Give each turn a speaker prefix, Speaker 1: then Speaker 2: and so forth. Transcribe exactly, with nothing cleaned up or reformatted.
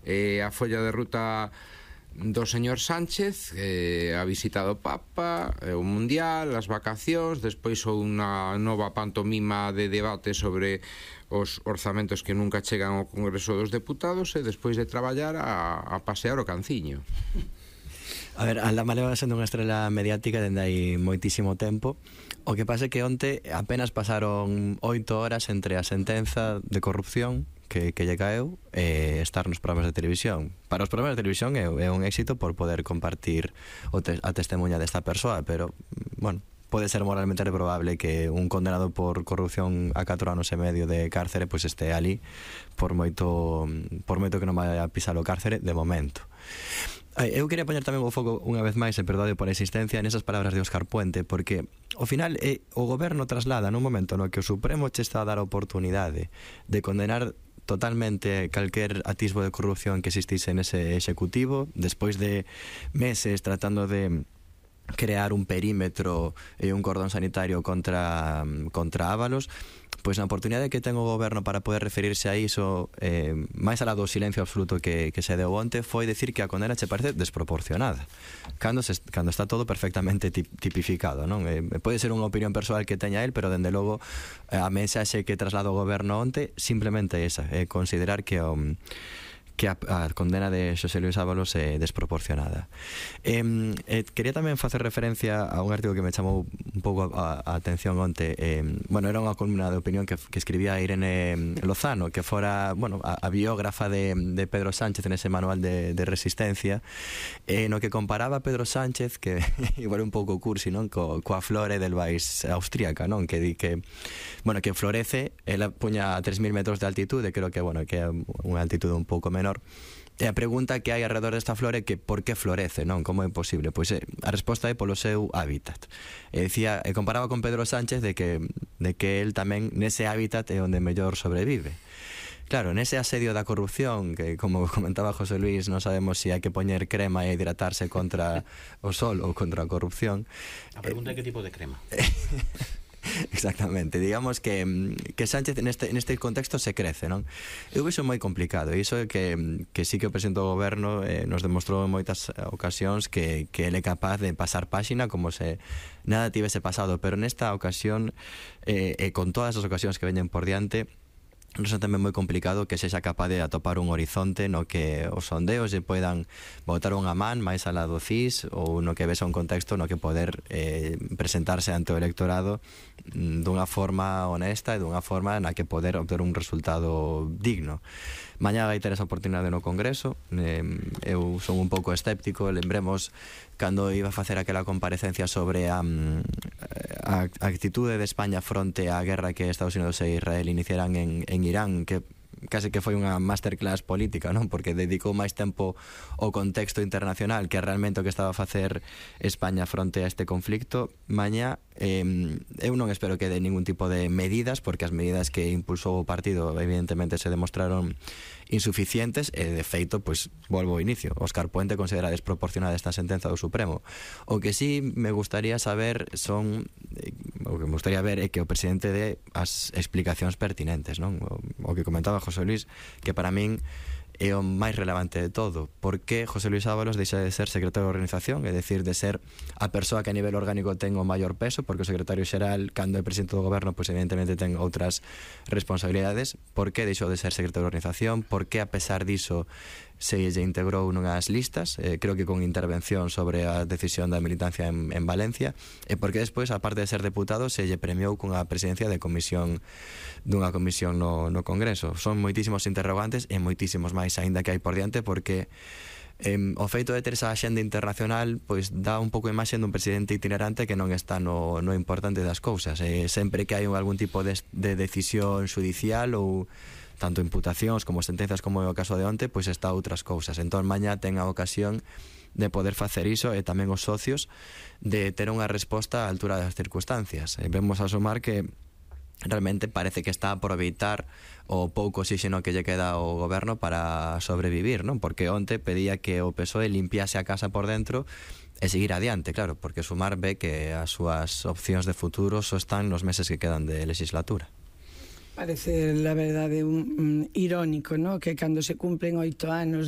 Speaker 1: eh, a folla de ruta do señor Sánchez, eh, a visita do Papa, eh, o Mundial, as vacacións, despois unha nova pantomima de debate sobre os orzamentos que nunca chegan ao Congreso dos Deputados, e despois de traballar a, a pasear o canciño.
Speaker 2: A ver, Aldama leva sendo unha estrela mediática dende hai moitísimo tempo. O que pasa é que onte apenas pasaron oito horas entre a sentenza de corrupción que, que lle caeu e estar nos programas de televisión. Para os programas de televisión é, é un éxito por poder compartir o te, a testemunha desta persoa, pero, bueno, pode ser moralmente reprobable que un condenado por corrupción a catro anos e medio de cárcere pois este ali por moito por moito que non vai a pisar o cárcere de momento. Eu quería poñer tamén o foco unha vez máis, e perdade por a insistencia, nesas palabras de Óscar Puente, porque ao final eh, o goberno traslada nun momento no que o Supremo che está a dar a oportunidade de condenar totalmente calquer atisbo de corrupción que existise nese executivo, despois de meses tratando de crear un perímetro e un cordón sanitario contra contra Ábalos, pois na oportunidade que ten o goberno para poder referirse a iso, eh, máis alá do silencio absoluto que, que se deu onte, foi decir que a condena che parece desproporcionada cando, se, cando está todo perfectamente tipificado, non? Eh, pode ser unha opinión persoal que teña el, pero dende logo a mensaxe que traslado o goberno onte simplemente esa, é eh, considerar que o um, que a, a condena de Xosé Luis Ábalos é desproporcionada. Eh, eh, quería tamén facer referencia a un artigo que me chamou un pouco a, a atención onte. Eh, bueno, era unha columna de opinión que, que escribía Irene Lozano, que fora, bueno, a, a biógrafa de, de Pedro Sánchez en ese manual de, de resistencia, eh, no que comparaba a Pedro Sánchez, que igual un pouco cursi, non? Co, coa flore del Vais austríaca, non? Que di que, bueno, que florece, ela puña a tres mil metros de altitude, creo que, bueno, que é unha altitude un pouco menor. E a pregunta que hai alrededor desta flor é que por que florece, non? Como é posible? Pois é, a resposta é polo seu hábitat. E dicía, e comparaba con Pedro Sánchez de que, de que el tamén nese hábitat é onde mellor sobrevive. Claro, nese asedio da corrupción, que como comentaba José Luis, non sabemos se si hai que poñer crema e hidratarse contra o sol ou contra a corrupción.
Speaker 3: A pregunta é que tipo de crema.
Speaker 2: Exactamente, digamos que, que Sánchez neste, neste contexto se crece, non? Eu vexo moi complicado, e iso é que, que sí que o presidente do goberno eh, nos demostrou en moitas ocasións que, que ele é capaz de pasar páxina como se nada tivese pasado, pero nesta ocasión eh, e con todas as ocasións que veñen por diante, non é tamén moi complicado que sexa capaz de atopar un horizonte no que os sondeos lle poidan botar unha man máis alá do C I S, ou no que ves un contexto no que poder eh, presentarse ante o electorado dunha forma honesta e dunha forma na que poder obter un resultado digno. Mañá vai ter esa oportunidade no Congreso. eh, eu son un pouco escéptico. Lembremos cando iba a facer aquela comparecencia sobre a, a, a actitude de España fronte á guerra que Estados Unidos e Israel iniciaran en, en Irán, que case que foi unha masterclass política, non? Porque dedicou máis tempo ao contexto internacional que realmente o que estaba a facer España fronte a este conflicto. Mañá eh, eu non espero que dé ningún tipo de medidas, porque as medidas que impulsou o partido evidentemente se demostraron insuficientes, e de feito, pois, volvo ao inicio, Óscar Puente considera desproporcionada esta sentenza do Supremo. O que sí me gustaría saber son, o que me gustaría ver é que o presidente dé as explicacións pertinentes, non? O, o que comentaba José Luis, que para min é o máis relevante de todo. Por que José Luis Ábalos deixa de ser secretario de organización, é dicir, de ser a persoa que a nivel orgánico ten o maior peso, porque o secretario xeral, cando é presidente do goberno, pois evidentemente ten outras responsabilidades. Por que deixou de ser secretario de organización? Por que, a pesar diso, se lle integrou nunhas listas, eh, creo que con intervención sobre a decisión da militancia en, en Valencia, e porque despois, aparte de ser deputado, se lle premiou cunha presidencia de comisión dunha comisión no, no Congreso. Son moitísimos interrogantes e moitísimos máis aínda que hai por diante, porque eh, o feito de ter esa axenda internacional pois dá un pouco a imaxe dun presidente itinerante que non está no, no importante das cousas. Eh, sempre que hai algún tipo de, de decisión judicial ou tanto imputacións como sentenzas como é o caso de onte, pois está outras cousas. Entón mañá ten a ocasión de poder facer iso, e tamén os socios de ter unha resposta á altura das circunstancias. E vemos a sumar que realmente parece que está a aproveitar o pouco oxígeno que lle queda ao goberno para sobrevivir, non? Porque onte pedía que o P S O E limpiase a casa por dentro e seguir adiante, claro, porque Sumar ve que as súas opcións de futuro só están nos meses que quedan de legislatura.
Speaker 4: Parece, la verdade, un, un irónico, ¿no? Que cando se cumplen oito anos da